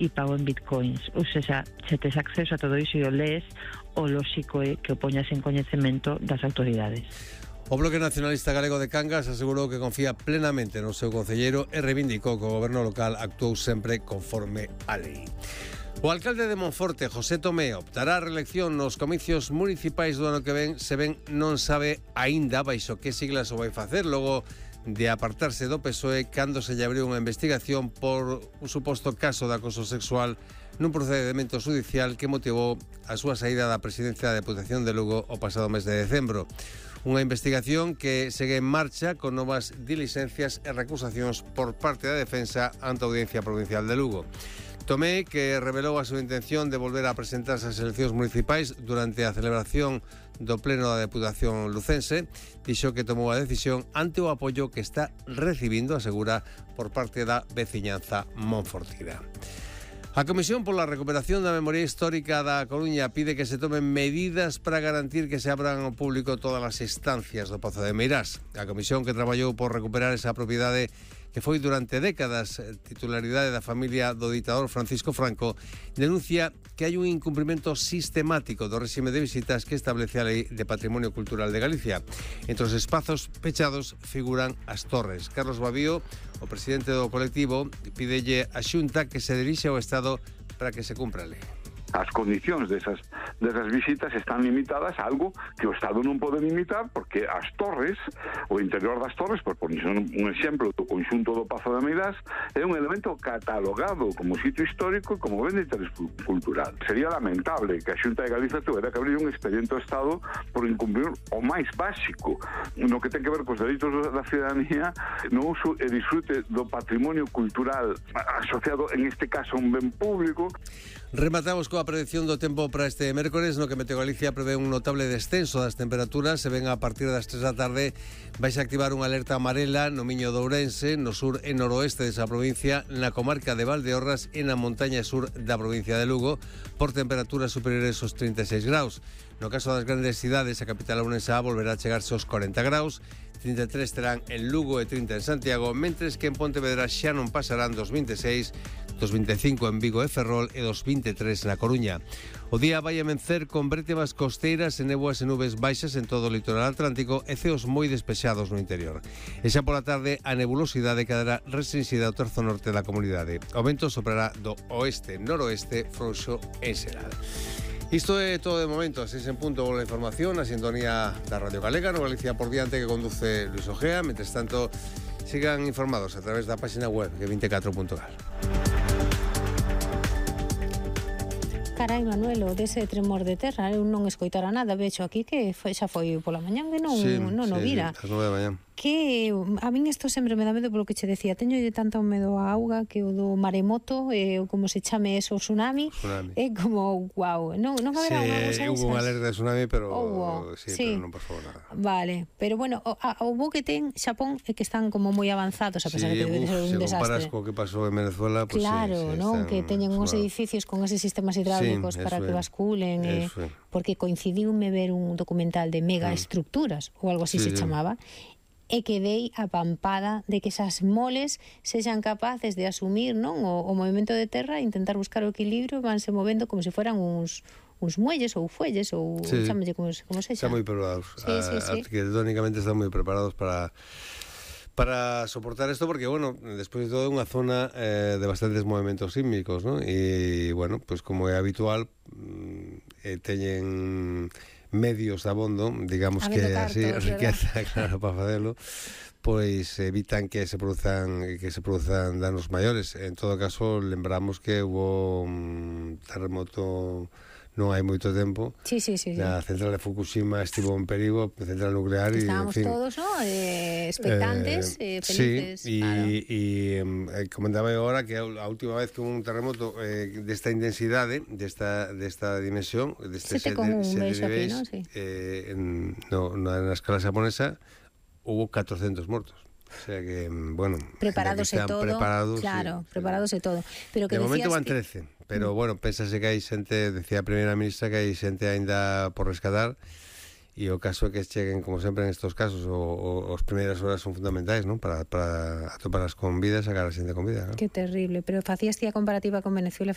e pago en bitcoins. Ou seja, se tes acceso a todo iso e o lees, o lóxico é que o poñas en coñecemento das autoridades. O Bloque Nacionalista Galego de Cangas asegurou que confía plenamente no seu concelleiro e reivindicou que o goberno local actuou sempre conforme a lei. O alcalde de Monforte, José Tomé, optará a reelección nos comicios municipais do ano que ven, se ben non sabe aínda baixo que siglas o vai facer, logo de apartarse do PSOE cando se lle abriu unha investigación por un suposto caso de acoso sexual nun procedimento judicial que motivou a súa saída da presidencia da Deputación de Lugo o pasado mes de decembro. Unha investigación que segue en marcha con novas diligencias e recusacións por parte da defensa ante a Audiencia Provincial de Lugo. Tomé, que revelou a súa intención de volver a presentarse ás eleccións municipais durante a celebración do Pleno da Deputación lucense, dixo que tomou a decisión ante o apoio que está recibindo, asegura, por parte da veciñanza monfortina. A Comisión pola Recuperación da Memoria Histórica da Coruña pide que se tomen medidas para garantir que se abran ao público todas as estancias do Pozo de Meirás. A Comisión que traballou por recuperar esa propiedade que foi durante décadas titularidade da familia do ditador Francisco Franco, denuncia que hai un incumprimento sistemático do réxime de visitas que establece a Lei de Patrimonio Cultural de Galicia. Entre os espazos pechados figuran as torres. Carlos Babío, o presidente do colectivo, pídelle a Xunta que se dirixe ao Estado para que se cumpra a lei. As condicións desas visitas están limitadas a algo que o Estado non pode limitar, porque as torres, o interior das torres, por poner un exemplo do conxunto do Pazo de Meirás, é un elemento catalogado como sitio histórico e como ben de interés cultural. Sería lamentable que a Xunta de Galicia tuvera que abrir un expediente ao Estado por incumprir o máis básico no que ten que ver cos dereitos da ciudadanía no uso e disfrute do patrimonio cultural asociado, en este caso, a un ben público. Rematamos coa predicción do tempo para este mércores, no que Meteo Galicia prevé un notable descenso das temperaturas. Se ven a partir das 3 da tarde vais a activar unha alerta amarela no Miño de Ourense, no sur e noroeste desa provincia, na comarca de Valdeorras e na montaña sur da provincia de Lugo, por temperaturas superiores aos 36 graus. No caso das grandes cidades, a capital ourensá volverá a chegarse aos 40 graus, 33 terán en Lugo e 30 en Santiago, mentres que en Pontevedra xa non pasarán dos 26, dos 25 en Vigo e Ferrol e dos 23 na Coruña. O día vai a vencer con brétemas costeiras e néboas e nubes baixas en todo o litoral atlántico e ceos moi despexados no interior. E xa pola tarde a nebulosidade quedará restringida ao terzo norte da comunidade. O vento soprará do oeste-noroeste frouxo en xeral. Isto é todo de momento. 6 en punto volve a información na sintonía da Radio Galega, no Galicia por diante, que conduce Luis Ojea. Mentres tanto, sigan informados a través da página web de 24.gal. Carai, Manuelo, dese tremor de terra, eu non escoitara nada, vexo aquí que xa foi pola mañán, que non o vira. Sí, as 9 da mañán. Que a min isto sempre me dá medo polo que che decía, teño tanto medo a auga que o do maremoto, como se chame eso, tsunami. É como, guau, non haberá unha cousa esas. Hubo unha alerta de tsunami, pero sí, pero non pasou nada. Vale, pero bueno, o bo que ten Xapón é que están como moi avanzados, a pesar de que debe ser un desastre. Se comparas co que pasou en Venezuela, pues claro, non, que teñen uns edificios con eses sistemas hidráulicos para que basculen, porque coincidiume ver un documental de megaestructuras ou algo así se chamaba, e quedei apampada de que esas moles sexan capaces de asumir, non, o movimento de terra e intentar buscar o equilibrio, vanse movendo como se fueran uns muelles ou fuelles ou chámelle como sexa. Están moi preparados. Arquitectónicamente están moi preparados para soportar esto, porque, bueno, despois de todo é unha zona de bastantes movimentos sísmicos, ¿no? E, bueno, pues como é habitual, teñen medios de abondo, digamos que así, riqueza, claro, para facelo, pois evitan que se produzan danos maiores. En todo caso, lembramos que hubo un terremoto non hai moito tempo. Sí. Na central de Fukushima estivo en perigo, central nuclear, e estábamos todos, ¿no? Expectantes, felices. Sí, e comentaba agora que a última vez que hubo un terremoto desta intensidade, desta dimensión, deste 7,1 vexo aquí, ¿no? Sí. Na escala japonesa hubo 400 mortos. O sea que, bueno, preparados e todo, preparados, claro, preparados e todo. Pero que de momento van que... 13, pero bueno, pénsase que hai xente, decía a primeira ministra, que hai xente aínda por rescatar, e o caso é que cheguen, como sempre en estos casos, as primeiras horas son fundamentais, non? Para atoparlas con vida e sacar a xente con vida, non? Que terrible, pero facías ti a comparativa con Venezuela.